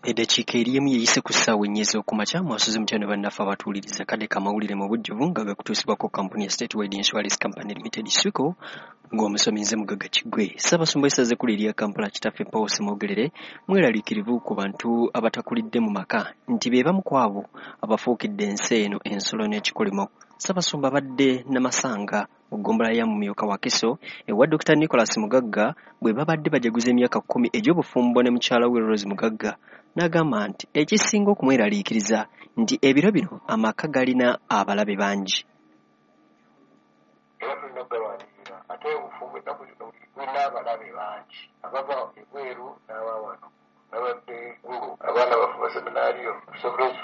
Eddakiika eri emu yeeyise ku ssaawa ennya ez'okumakya. Mwasuze mutya ne bannaffe abatuwuliriza? Kadde k'amawulire mu bujjuvu nga gakutuusibwako kampuni ya Statewide Insurance Company Limited, SWICO, ng'omusomi nze Mugagga Kiggwe. Ssaabasumba w'essaza ekkulu erya Kampala, Kitaffe Paul Ssemwogerere, mweraliikirivu ku bantu abatakulidde mu maka nti be bamu ku abo abafuukidde ensi eno ensolo n'ekikolimo. Ssaabasumba abadde Namasanga mu ggombolola ya Mumyuka Wakiso ewa Dr. Nicholas Mugagga bwe babadde bajaguza emyaka 10 egy'obufumbo ne mukyala we Rose Mugagga, n'agamba nti ekisinga okumweraliikiriza nti ebiro bino amaka galina abalabe bangi. Era tulina okugalwanirira, ate obufumbo ennaku zino bulina abalabe bangi abava ebweru n'aba wano. Nabadde Gulu, abaana baffe baseminaariyo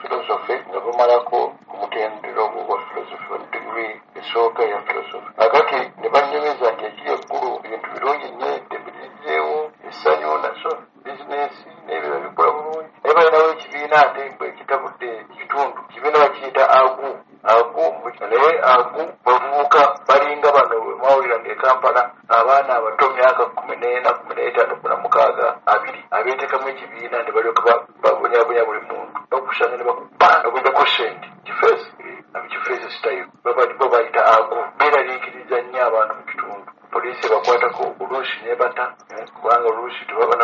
philosophy nga bamalako omutendera ogwa philosophy degree esooka eya philosophy. Akati ne bannyumiza nti ekiri eggulu ebintu birungi nnyo, eddembe lirizzeewo, essanyu naso bizinensi n'ebirala bikola bulungi. Naye balinawo ekibiina ate ekitabudde ekitundu, ekibiina bakiyita AGU. AGU naye AGU bavubuka balinga bano mwawuliranga e Kampala, abaana abato myaka 14, 15, 16, 20 abeetekamu ekibiina ne balyoka babonyabonya buli muntu, bakusanga ne bakuba okujjako ssente. Kifeesi kifeesi style babayita AGU. Beeraliikiriza nnyo abantu mu kitundu. Poliisi ebakwatako oluusi n'ebata, kubanga oluusi tebaba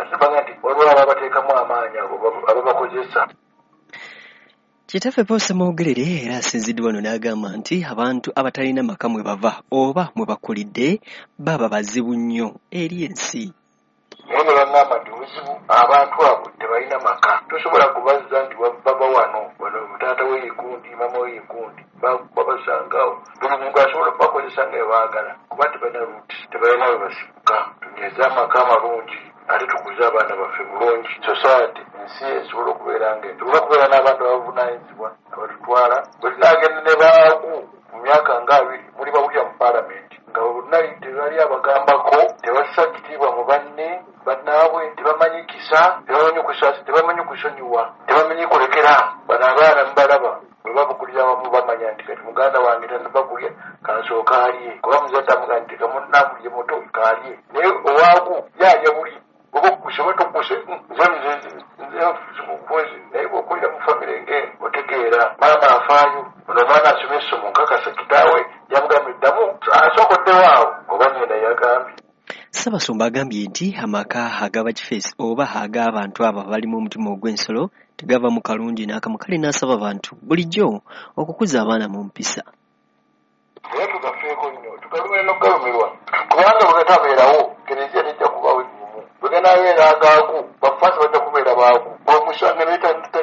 ate baga nti waliwo ababateekamu amaanyi abo ababakozesa. Kitaffe Paul Ssemwogerere era asinziddwa wano n'agamba nti abantu abatalina maka mwe bava oba mwe bakulidde baba bazibu nnyo eri ensi. Naye ne baŋŋamba nti obuzibu abantu abo tebalina maka, tosobola kubazza nti bava wano wano taata we yegundi, maama we yegundi, babasangaawo. Buli muntu asobola okubakozesa nga bwe baagala kuba tebalina roots, tebalina we basibuka. Tunyweze amaka amalungi ate tukuze abaana baffe bulungi. Society ensi esobola okubeera nga esobola okubeera n'abantu abavunaanyizibwa abatutwala. Bwe tunaagenda ne baagu mu myaka nga 20 muli bawulira mu paalamenti nga bonna tebali abagambako, tebassa kitiibwa mu banne bannaabwe, tebamanyi kisa, tebamanyi kusaasi, tebamanyi kusonyiwa, tebamanyi kulekera. Bano abaana mubalaba bwe babukulira awamu bamanya nti kati muganda wange tannabakulya kansooka alye, kuba muzadde amugamba nti kamunnamulye muto kaalye, naye owaagu ye alya buli oba okkuse oba tokkuse, nze nze naye bw'okulira mu famire ng'eno otegeera maama afaayo, ono omwana asoma essomo nkakasa kitaawe yamugambye ddamu asookoddewo awo oba nnyina yagambye. Ssaabasumba agambye nti amaka ag'abakifeesi oba ag'abantu abo abalimu omutima ogw'ensolo tegava mu kalungi n'akamu, kale n'asaba abantu bulijjo okukuza abaana mu mpisa. Naye tugafeeko nnyo, tugalumire n'okugalumirwa, kubanga bwe gatabeerawo kereziya tejja kubaawo ennyumu. Bwe ganaabeera agaagu bafaasi bajja kubeera baagu. Bw'omusanga naye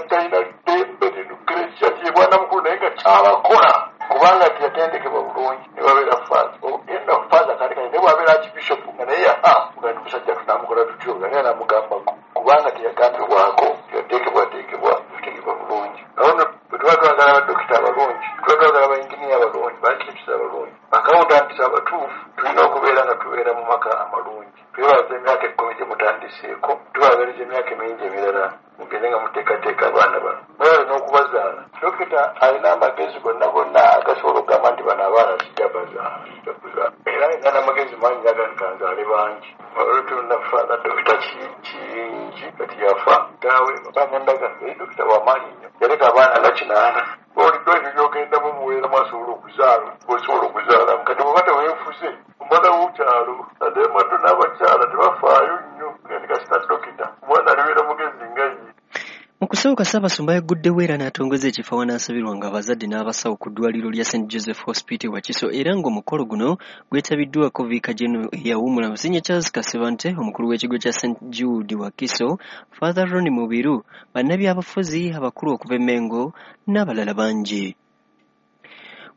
talina ddembe kereziya ye bwana mukulu naye nga kyabakola kubanga teyatendekebwa bulungi ne babeera faasi. Yenna faaza kale kale naye bw'abeera archbishop nga naye yaha nti musajja tunaamukola tutyo nga naye anamugambako kubanga teyagambibwako, teyateekebwateekebwa kutegekebwa bulungi. Awo nno bwe tuba twagala badokita abalungi, tuba twagala bayinginiya abalungi, ba-architects abalungi, accountants abatuufu, tulina okubeera nga tubeera mu maka amalungi. Twebaza emyaka 10 gye mutandiseeko, tubaagaliza emyaka emingi emirala mugende nga muteekateeka abaana bano. Mwebale n'okubazaala. Dokita alina amagezi gonna gonna agasobola okugamba nti bano abaana sijja bazaala, sijja kuzaala. Era alina n'amagezi mangi aga nkanzaale bangi. Olwo Father Dokita Kiyingi kati yafa taawe banyandaga eri dokita w'amaanyi nnyo, yaleka abaana nga 8. Olidde ebyo by'ogendamu mubeeramu asobola okuzaala, osobola okuzaala. Kati bw'oba teweefuze omwana w'okyalo ate mato n'abakyala tebafaayo nnyo nga kasita dokita omwana alibeera mugezi nga ye. Mu kusooka Ssaabasumba yagguddewo era n'atongoza ekifo awanaasabirwanga abazadde n'abasawo ku ddwaliro lya St Joseph Hospital Wakiso, era ng'omukolo guno gwetabiddwako Viika General eyawummula Musinye Charles Kasibante, omukulu w'ekigo kya St Jude Wakiso, Father Ronnie Mubiru, bannabyabufuzi abakulu okuva e Mengo n'abalala bangi.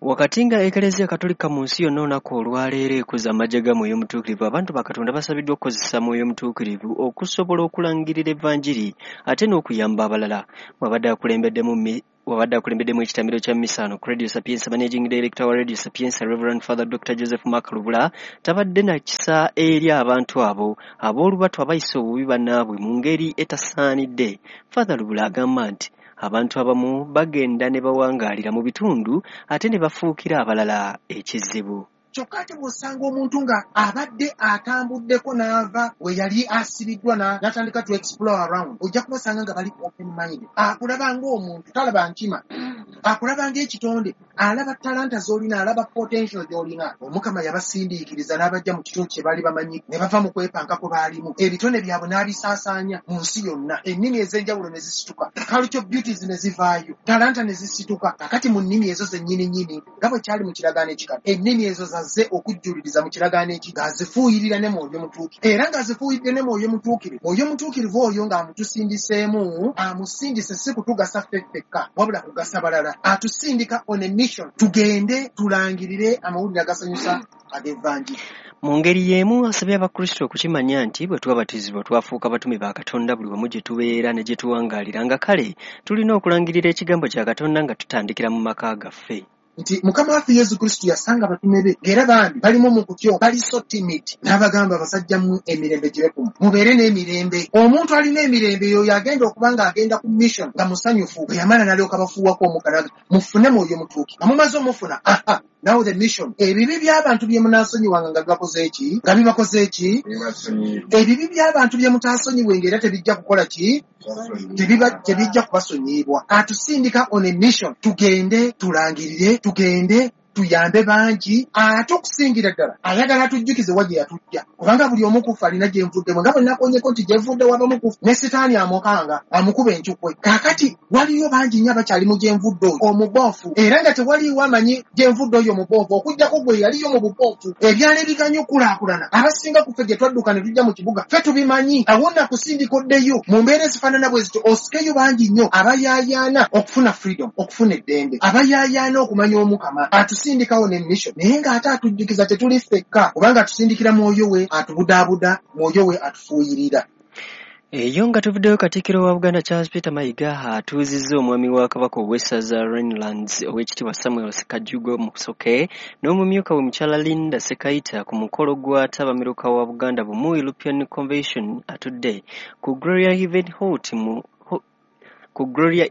Wakati nga Eklezia Katolika mu nsi yonna olunaku olwaleero ekuza amagye ga Mwoyo Mutuukirivu, abantu ba Katonda basabiddwa okukozesa Mwoyo Mutuukirivu okusobola okulangirira Evanjiri ate n'okuyamba abalala. Wabadde akulembeddemu ekitambiro kya mmisa ku Radio Sapientia, Managing Director wa Radio Sapientia, Reverend Father Dr. Joseph Mark Lubula, tabadde na kisa eri abantu abo ab'olubatu abayisa obubi bannaabwe mu ngeri etasaanidde. Father Lubula agamba nti abantu abamu bagenda ne bawangaalira mu bitundu ate ne bafuukira abalala ekizibu. Kyokka ate bw'osanga omuntu nga abadde atambuddeko n'ava we yali asibiddwa n'atandika to explore around, ojja kubasanga nga bali open mind. Akulaba ng'omuntu, talaba nkima, akulaba ng'ekitonde, alaba talanta z'olina, alaba potential gy'olina. Omukama yabasindiikiriza n'abajja mu kitundu kye baali bamanyi, ne bava mu kwepanka kwe baalimu, ebitone byabwe n'abisaasaanya mu nsi yonna, ennimi ez'enjawulo ne zisituka, culture beauties ne zivaayo, talanta ne zisituka. Kakati mu nnimi ezo zennyini nnyini, nga bwe kyali mu kiragaano ekikadde, ennimi ezo zazze okujjuliriza mu kiragaano eki, ng'azifuuyirira ne Mwoyo Mutuukirivu, era ng'azifuuyiridde ne Mwoyo Mutuukirivu. Mwoyo Mutuukirivu oyo ng'amutusindiseemu, amusindise si kutugasa ffe ffekka, wabula kugasa balala. Atusindika on a mission, tugende tulangirire amawulire agasanyusa ag'Evanjiri. Mu ngeri y'emu asabye Abakristo okukimanya nti bwe twabatizibwa twafuuka batume ba Katonda buli wamu gye tubeera ne gye tuwangaalira, nga kale tulina okulangirira ekigambo kya Katonda nga tutandikira mu maka gaffe. Nti Mukama waffe Yesu Kristo yasanga abatume be ng'era bambi balimu mu kutyo, bali so timid, n'abagamba, "Abasajja mu emirembe gibe kumu, mubeere n'emirembe." Omuntu alina emirembe yoyo agenda okuba ng'agenda ku mission nga musanyufu. Bwe yamala n'alyoka bafuuwako omukka, "Mufune Mwoyo Mutuuki." Nga mumaze omufuna, aha, now the mission. Ebibi by'abantu bye munaasonyiwanga nga bibakoze eki, nga bibakoze eki, ebibi by'abantu bye mutaasonyiwe ng'era tebijja kukola ki, tebijja kubasonyiyibwa. Atusindika on a mission, tugende tulangirire, tugende tuyambe bangi. Ate okusingira ddala ayagala atujjukize wa gye yatujja, kubanga buli omu kufa alina gye nvuddemu, nga bwe nakonyeko nti gye nvudde wabamu kufa ne Sitaani amukanga amukuba encukwe. Kaakati waliyo bangi nnyo abakyali mu gye nvudde oyo omuboofu, era nga tewaliiwo amanyi gye nvudde oyo omuboofu okuggyako gwe yaliyo mu buboofu. Ebyalo ebiganye okulaakulana, abasinga ku ffe gye twadduka ne tujja mu kibuga ffe tubimanyi. Awo nakusindika oddeyo mu mbeera ezifaanana bwe zityo, osikeyo bangi nnyo abayaayaana okufuna freedom, okufuna eddembe, abayaayaana okumanya Omukama. Atusindikawo ne mission, naye ng'ate atujjukiza tetuli ffekka, kubanga atusindikira Mwoyo we atubudaabuda, Mwoyo we atufuuyirira. Eyo nga tuvuddeyo, Katikkiro wa Buganda Charles Peter Mayiga atuuzizza omwami wa Kabaka ow'essaza Rhinelands, Oweekitiibwa Samuel Sekajugo Musoke, n'omumyuka we Mukyala Linda Sekaita ku mukolo gwa ttabamiruka wa Buganda Bumu European Convention atudde ku Gloria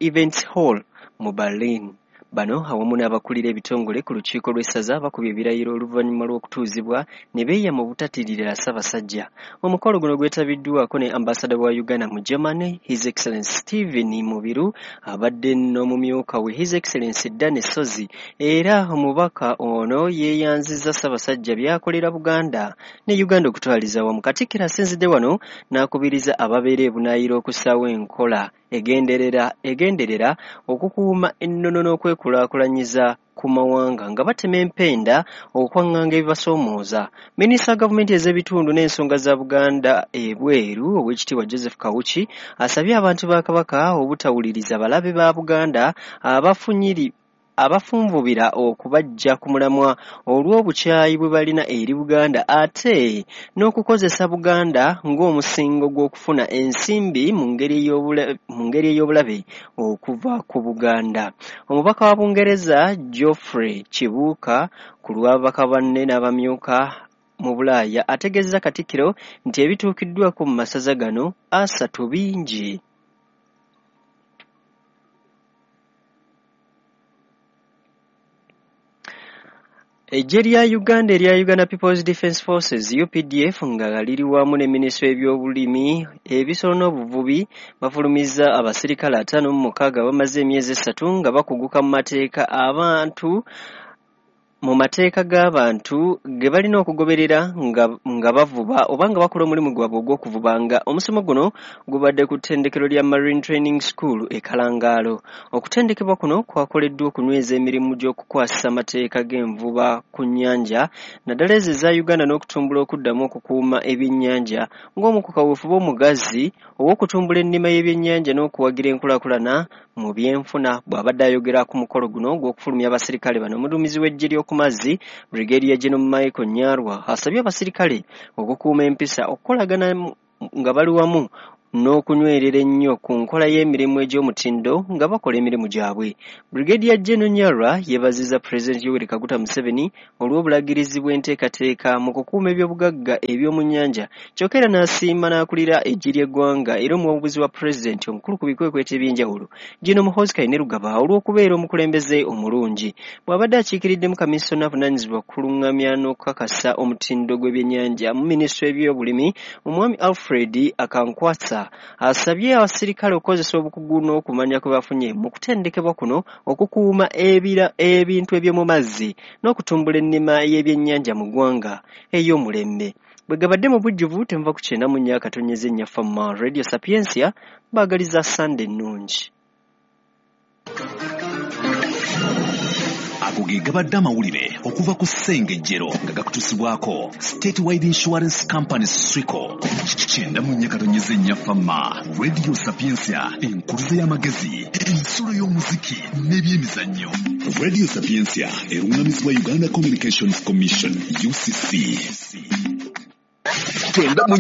Events Hall mu Berlin. Bano awamu n'abakulira ebitongole ku lukiiko lw'essaza bakubye ebirayiro oluvannyuma lw'okutuuzibwa ne beeyama obutatirira Ssaabasajja. Omukolo guno gwetabiddwako ne ambasada wa Uganda mu Germany, His Excellency Stephen Mubiru, abadde n'omumyuka we His Excellency Danny Sozi. Era omubaka ono yeeyanzizza Ssaabasajja by'akolera Buganda ne Uganda okutwaliza awamu. Katikkiro asinzidde wano n'akubiriza ababeera ebunaayira okussaawo enkola egenderera okukuuma ennono n'okwekulaakulanyiza ku mawanga nga batema empenda okwaŋŋanga ebibasoomooza. Minisita wa gavumenti ez'ebitundu n'ensonga za Buganda ebweru, Oweekitiibwa Joseph Kawuki, asabye abantu ba Kabaka obutawuliriza balabe ba Buganda abafunvubira okubaggya ku mulamwa olw'obukyayi bwe balina eri Buganda, ate n'okukozesa Buganda ng'omusingo gw'okufuna ensimbi mu ngeri ey'obulabe okuva ku Buganda. Omubaka wa Bungereza Geoffrey Kibuuka ku lw'ababaka banne n'abamyuka mu Bulaaya ategeezezza Katikkiro nti ebituukiddwako mu masaza gano 3 bingi. Eggye lya Uganda erya Uganda People's Defence Forces UPDF nga liri wamu ne minisitule y'ebyobulimi, ebisolo n'obuvubi bafulumizza abasirikale 56 abamaze emyezi 3 nga bakuguka mu mateeka g'abantu ge balina okugoberera nga bavuba oba nga bakola omulimu gwabwe ogw'okuvuba, nga omusomo guno gubadde ku ttendekero lya Marine Training School e Kalangaalo. Okutendekebwa kuno kwakoleddwa okunyweza emirimu gy'okukwasisa amateeka g'envuba ku nnyanja, naddala ezo eza Uganda, n'okutumbula okuddamu okukuuma ebyennyanja ng'omu ku kaweefube omugazi ow'okutumbula ennima y'ebyennyanja n'okuwagira enkulaakulana mu byenfuna. Bw'abadde ayogera ku mukolo guno ogw'okufulumya abasirikale bano, omuduumizi w'eggye ly'oku mazzi Brigadier General Michael Nyarwa asabye abasirikale okukuuma empisa, okukolagana nga bali wamu. n'okunywerera ennyo ku nkola y'emirimu egy'omutindo nga bakola emirimu gyabwe. Brigadier General Nyarwa yeebazizza Pulezidenti Yoweri Kaguta Museveni olw'obulagirizi bw'enteekateeka mu kukuuma ebyobugagga eby'omu nnyanja, kyokka era n'asiima n'akulira eggye ly'eggwanga era omuwabuzi wa Pulezidenti omukulu ku bikwekweto eby'enjawulo, General Muhoozi Kainerugaba, olw'okubeera omukulembeze omulungi. Bw'abadde akiikiriddemu kamisona avunaanyizibwa kulungamya n'okukakasa omutindo gw'ebyennyanja mu minisitule y'ebyobulimi, Omwami Alfred Akankwasa asabye abasirikale okukozesa obukugu n'okumanya kwe bafunye mu kutendekebwa kuno okukuuma ebintu eby'omu mazzi n'okutumbula ennima y'ebyennyanja mu ggwanga ey'omulembe. Bwe gabadde mu bujjuvu temuva ku 94.4 Fama Radio Sapientia, baagaliza Sande ennungi. Ago ge gabadde amawulire okuva ku Ssengejjero nga gakutuusibwako Statewide Insurance Company Swico. 94.4 Fama Radio Sapientia, enkuluze y'amagezi, ensulo y'omuziki n'ebyemizannyo. Radio Sapientia eruŋŋamizibwa Uganda Communications Commission UCC. 94.